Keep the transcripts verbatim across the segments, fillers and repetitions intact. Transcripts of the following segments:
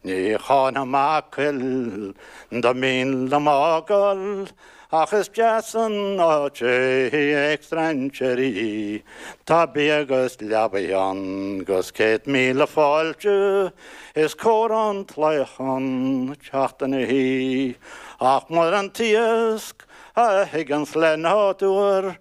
Ní cháinfidh mé coill dá mb'fhíon liom á gol, ach is deas an áit é ag strainséirí. Tá bia agus leabaidh ann 'gus céad míle fáilte, is cóir an tlaoch ann teacht ina shuí. Ach muran t-iasc a thigeanns le nádúr,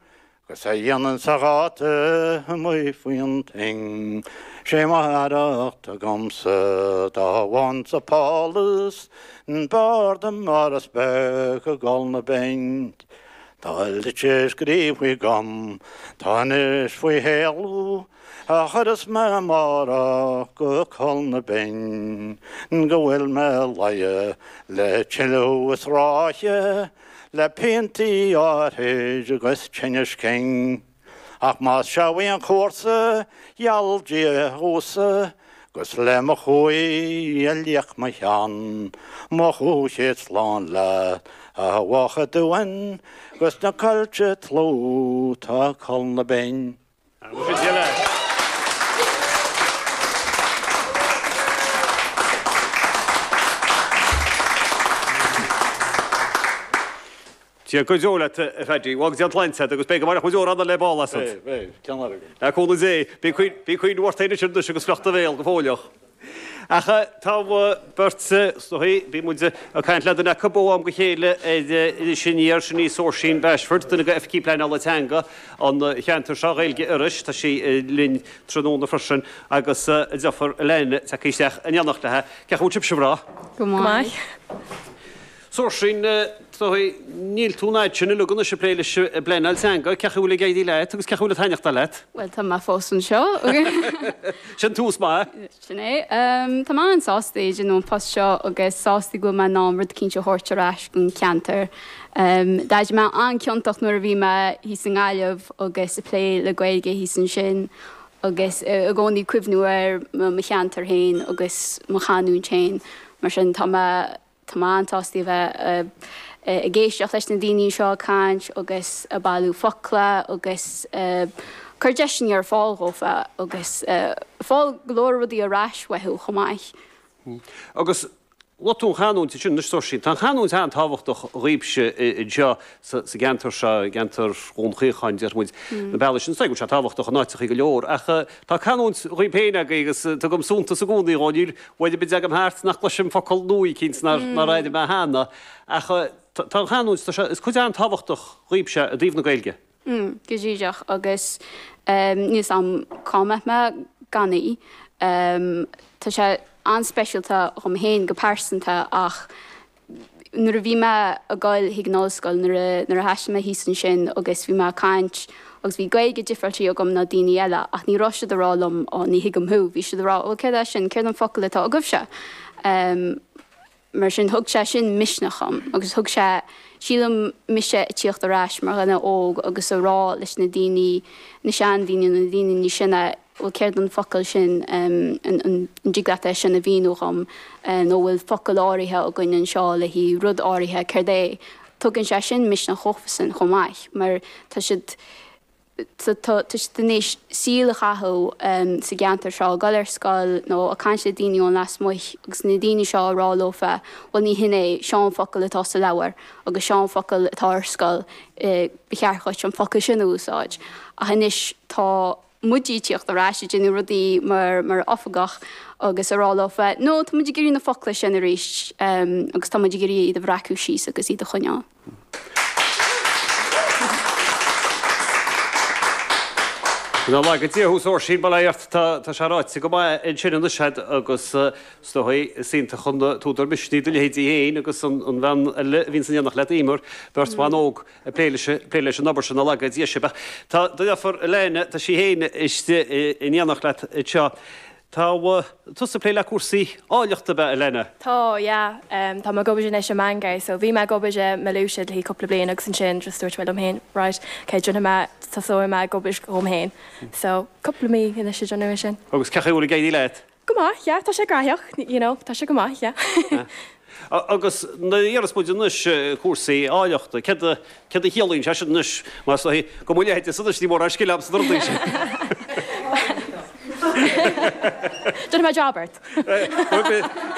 'Gus a dhéananns a dháta amuigh faoin toinn, 'Sé mo fhearacht agamsa dá bhfaighinn-sa pálas, B'fhearr dom áras beag i gColl na Binne. Tá litir scríofa agam 'tá anois faoi shéalú, A chuirfeas mé amárach go Coll na Binne, Go bhfuil mé leagtha le tuilleadh is ráithe, Le piantaí áithrid agus tinnis cinn. Ach más searbh an cúrsa, gheall Dia dhomhsa, 'Gus le mo chumhaidh a liacht mo cheann, Mo chúig chéad slán leat, a Mhacha Dúin, 'Gus na coillte tlú 'tá Coll na Binne. Dia go deo leat, a Phaddy. Bhuel, go dté an tsláinte agat agus beidh go mairfidh muid amhrán eile le ball asat. Beidh, beidh. Ceann eile agam. Le cúnamh Dé. Bí ag cuimhneamh ort féin anois agus fliuch do bhéal go fóilleach. Ach tá beirt, is dóigh, bíonn muid ag caint le duine acu ó am go chéile ar Iris Aniar, sin í Saoirsín Bashford, duine de Oifigigh Pleanála Teanga an cheantair seo, Ghaeilge Iorrais, tá sí linn tráthnóna freisin, agus a deirfiúr Elaine tagtha isteach in éineacht léi. Cén chaoi a bhfuil sibhse, a mhná? Go maith. Saoirsín, níl tú an fhad sin uilig anois ag plé leis an bpleanáil teanga, cén chaoi a bhfuil ag éirí leat agus cén chaoi a bhfuil ag taitneachtáil leat? Bhuel, tá mé fós anseo. Sin tús maith. Sin é. Tá mé an-sásta ag déanamh an post seo agus sásta go bhfuil mé in ann rud eicínt a thabhairt ar ais don cheantar. D'éirigh mé an-ciontach nuair a bhí mé thíos i nGaillimh agus ag plé le Gaeilge thíos ansin agus i gcónaí cuimhniú ar mo cheantar féin agus mo chanúint féin. Mar sin tá mé Tá mé an-sásta a bheith ag éisteacht leis na daoine seo ag caint agus ag bailiú focla agus ag cur deiseanna ar fáil dhófa agus ag fáil go leor rudaí ar ais uathu chomh maith. Agus luaigh tú an chanúint ansin anois, Saoirsín. Tá an chanúint an-tábhachtach dhaoibhse anseo sa gceantar seo, i gceantar Dhún Chaocháin, déarfaidh muid, na bealaí sin. Is dóigh go bhfuil sé tábhachtach in áiteachaí go leor, ach tá canúint dhaoib féin agaibh agus tugaim suntas i gcónaí dhó. Níl uair ar bith a dtagaim thart nach gcloisim focal nua eicínt nár nár airigh mé cheana. Ach tá an chanúint, tá sé, is cuid an-tábhachtach dhaoibhse i dtaobh na Gaeilge. Mm, go díreach agus níl 'fhios a'm cá mbeadh mé gan í. Tá sé an-speisialta dhom féin go pearsanta ach nuair a bhí mé ag goil chuig an ollscoil, nuair a nuair a thaistil mé thíos ansin agus bhí mé ag caint agus bhí Gaeilge difreáilte agam ná daoine eile ach ní raibh siad ag rá liom 'Ó, ní thuigim thú', bhí siad ag rá 'Bhuel, céard é sin? Céard an focal atá agaibhse?' Mar sin, thug sé sin misneach dhom agus thug sé, sílim, mise ag tíocht ar ais mar dhuine óg agus a rá leis na daoine, na seandaoine, na daoine níos sine, bhuel céard an focal sin, an dtig leat é sin a mhíniú dhom nó bhfuil focal áirithe againn anseo le haghaidh rud áirithe, céard é? Tugann sé sin misneach dhófasan chomh maith mar tá siad, tá siad in éis saol a chaitheamh sa gceantar seo, ag dul ar scoil nó ag caint le daoine ón lasmuigh agus na daoine seo ag rá leofa, bhuel ní hin é, seo an focal atá sa leabhar agus seo an focal atá ar scoil, ba cheart dhuit an focal sin a úsáid. Ach anois tá muid ag tíocht ar ais ag déanamh rudaí mar mar oifigeach agus ag rá leofa, no tá muid ag iarraidh na focla sin arís agus tá muid ag iarraidh iad a bhreacadh síos agus iad a choinneáil. Go n-laga Dia thú, a Sheoirsín, bail ort, tá sé ráite go maith ansin anois agat agus is dóigh is iontach an t-údar misnigh do leithéidí féin agus an bhean eile a bhíonn san éineacht leat, Emer, beirt bhan óg ag plé leis plé leis an obair sin, go n-laga Dia sibh. Ach tá do dheirfiúr Elaine, tá sí féin istigh in éineacht leat anseo. Tá tusa ag plé le cúrsaí áilleachta, ab ea, Elaine? Tá, yeah. Tá mé ag obair anois i Bangor. So bhí mé ag obair i Malaysia le haghaidh cúpla bliain agus ansin just dúirt mé liom féin, right, ok, déanfaidh mé, tosóidh mé ag obair dhom féin. So cúpla mí anois ag déanamh é sin. Agus cén chaoi a bhfuil ag éirí leat? Go maith, yeah, tá sé graitheach, you know, tá sé go maith, yeah. Agus nuair a déarfas muid anois cúrsaí áilleachta, céard a, céard a chiallaíonn sé sin anois? Mar is dóigh go mo leithéidse anois ní mórán scil agam sna rudaí sin. Déanfaidh mé jab ort.